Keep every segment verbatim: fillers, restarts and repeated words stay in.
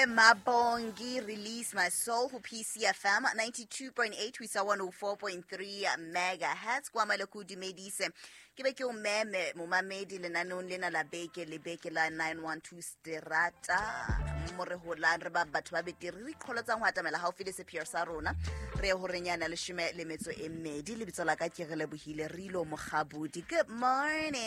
Mabongi, Release My Soul ho P C F M ninety-two point eight ho isa one oh four point three megahertz. Kwa maloko dumedise ke be ke o meme momamedi lenaneong lena la beke le beke la nine one two Strata mo re holang re ba batho ba betere re iqholotsang ho atamela haufi le sepheo sa rona re ho renyana leshome le metso e mmedi. Lebitso la ka ke re lebohile Rilo Mokgabudi. Good morning.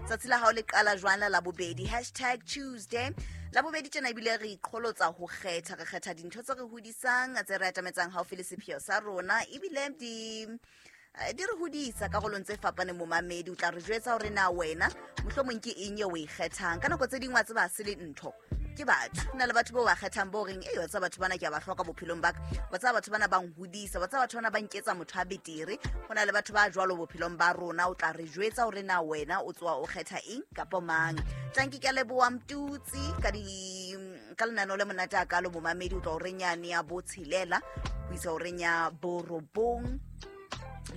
Tsatsi la hao le qala jwang la Labobedi, hashtag Tuesday. Labobedi tjena ebile re iqholotsa ho kgetha, re kgetha dintho tse re hodisang, tse re atametsang haufi le sepheo sa rona, ebile di di re hodisa karolong tse fapaneng. Momamedi o tla re jwetsa hore na wena mohlomong ke eng eo o e kgethang. Ka nako tse ding wa tseba ha se le ntho, ke batho. Ho na le batho bao ba kgethang bo reng, "Ei, wa tseba batho bana ke a ba hloka bophelong ba ka, wa tseba batho bana ba nhodisa, wa tseba batho bana ba nketsa motho a betere." Ho na le batho ba jwalo bophelong ba rona. O tla re jwetsa hore na wena o tswa o kgetha eng kapa mang. Tanki ke a leboha Mtutsi ka di ka lenaneo le monate a kalo. Momamedi o tla o re nyane ya botshelela ho isa o re nya borobong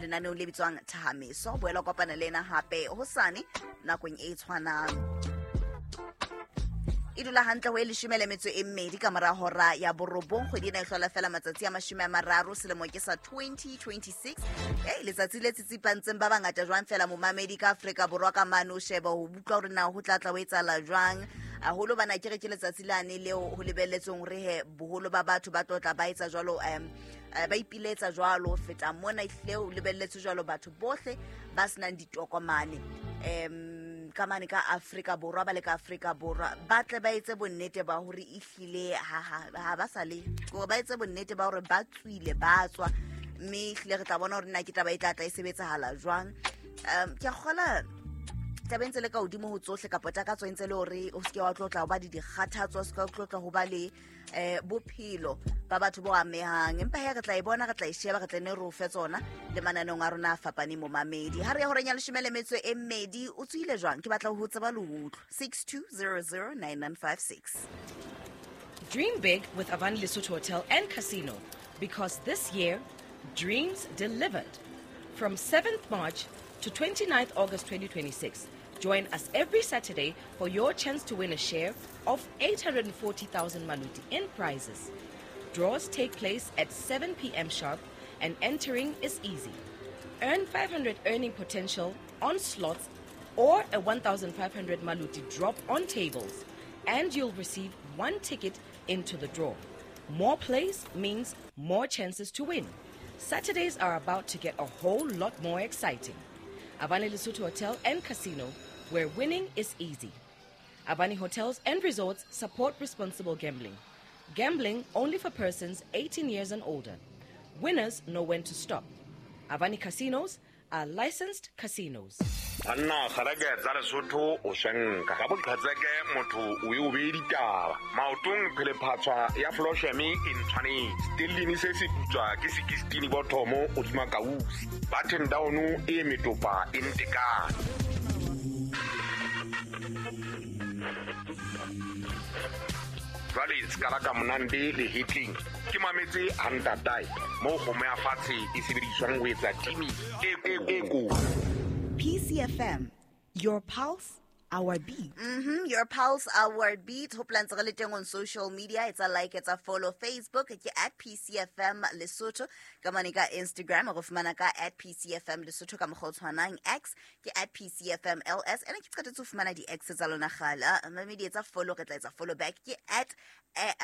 lenaneong le bitswang Thahameso. Boela kopana le ena hape hosane nakong e tshwanang. E dula hantle ho e leshome le metso e mmedi ka mora hora ya borobong. Kgwedi ena e hlola fela matsatsi a mashome a mararo, selemo ke sa twenty twenty-six. Ei, letsatsi le tsitsipantseng ba bangata jwang fela momamedi ka Afrika Borwa ka mane o sheba ho utlwa hore na ho tla tla ho etsahala jwang. Haholo bana ke re ke letsatsi lane leo ho lebelletsweng hore he boholo ba batho ba tlotla ba etsa jwalo, um ba ipiletsa jwalo feta mona ehlile ho lebelletswe jwalo batho bohle ba senang ditokomane um ka mane ka Afrika Borwa, ba le ka Afrika Borwa ba tle ba etse bonnete ba hore ehlile ha ha ba sa le hore ba etse bonnete ba hore ba tswile ba tswa, mme ehlile re tla bona hore na ke taba e tla tla e sebetsahala jwang. Um ke a kgola taba e ntse le ka hodimo ho tsohle, kapa takatso e ntse le hore o seke wa tlotla ho ba di dikgathatso, o seke wa tlotla ho ba le eh bophelo ba batho bo amehang. Empa he re tla e bona, re tla e sheba, re tla ne re o fe tsona le mananeong a rona a fapaneng. Momamedi ha re ya horeng ya leshome le metso e mmedi, o tswile jwang? Ke batla ho tseba le ho utlwa. six two zero zero nine nine five six. Dream big with Avani Lesotho Hotel and Casino, because this year, dreams delivered. From seventh March to twenty-ninth August twenty twenty-six, join us every Saturday for your chance to win a share of eight hundred forty thousand maluti in prizes. Draws take place at seven p.m. sharp and entering is easy. Earn five hundred earning potential on slots or a one thousand five hundred maluti drop on tables, and you'll receive one ticket into the draw. More plays means more chances to win. Saturdays are about to get a whole lot more exciting. Avani Lesotho Hotel and Casino, where winning is easy. Avani Hotels and Resorts support responsible gambling. Gambling only for persons eighteen years and older. Winners know when to stop. Avani Casinos are licensed casinos. Banna kgareke tsa Lesotho o shenka ka boqhetseke motho o e o be ditaba maotong phelephatswa ya flosheme e ntshwanetse stellini se se putswa ke sixteen bothomo o dima kausi button down e metopa e ntekane. Jwale skala ka monande le hitling ke mametse hantatai mo kgomo ya fatshe e sebediswang ho etsa timi e e ko. P C F M, your pulse, our beat. Mm-hmm, your pulse, our beat. Ho plan tse le teng on social media. It's a like, it's a follow. Facebook ke at P C F M Lesotho. Ka mane ka Instagram re fumana ka at P C F M Lesotho ka mokgwa o tshwanang. X ke at P C F M L S. Ene ke qetetse ho fumana di X tsa lona kgale. Mme di etsa follow, re tla etsa follow back ke at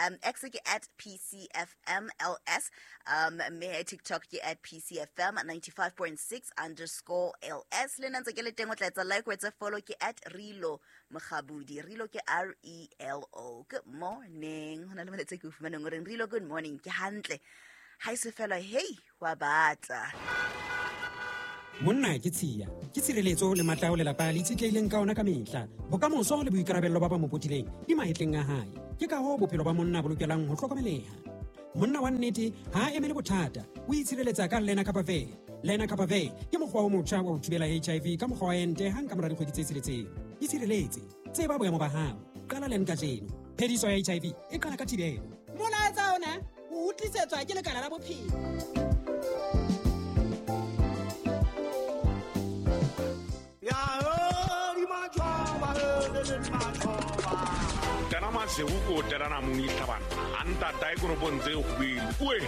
um, X ke at P C F M L S. Um, mme TikTok ke at P C F M ninety-five point six underscore L S. Le nna ntse ke le teng o tla etsa like, o etse follow ke at Rilo Mokgabudi. Rilo ke R E L O. Good morning. Ho na le molaetsa ke o fumaneng o reng Rilo good morning. Ke hantle. Ha e se fela, hey, wa batla. Monna ke tshiya, ke tshireletso le matla ao lelapa le itshetlehileng ka ona ka mehla. Bokamoso le boikarabello ba ba mo potileng di mahetleng a hae. Ke ka hoo bophelo ba monna bo lokelang ho hlokomeleha. Monna wa nnete ha a emele bothata, o itshireletsa ka Lenacapavir. Lenacapavir ke mokgwa o motjha wa ho thibela H I V ka mokgwa wa ente hang ka mora dikgwedi tse tsheletseng. Itshireletse, tseba boemo ba hao. Qala len kajeno. Phediso ya H I V e qala ka thibelo. Molaetsa ona o utlisetswa ke lekala la bophelo. Ya Masego ke o tela namune tlhabana a ntatae konopong tse kgubedu oe.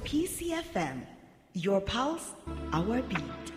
P C F M, your pulse, our beat.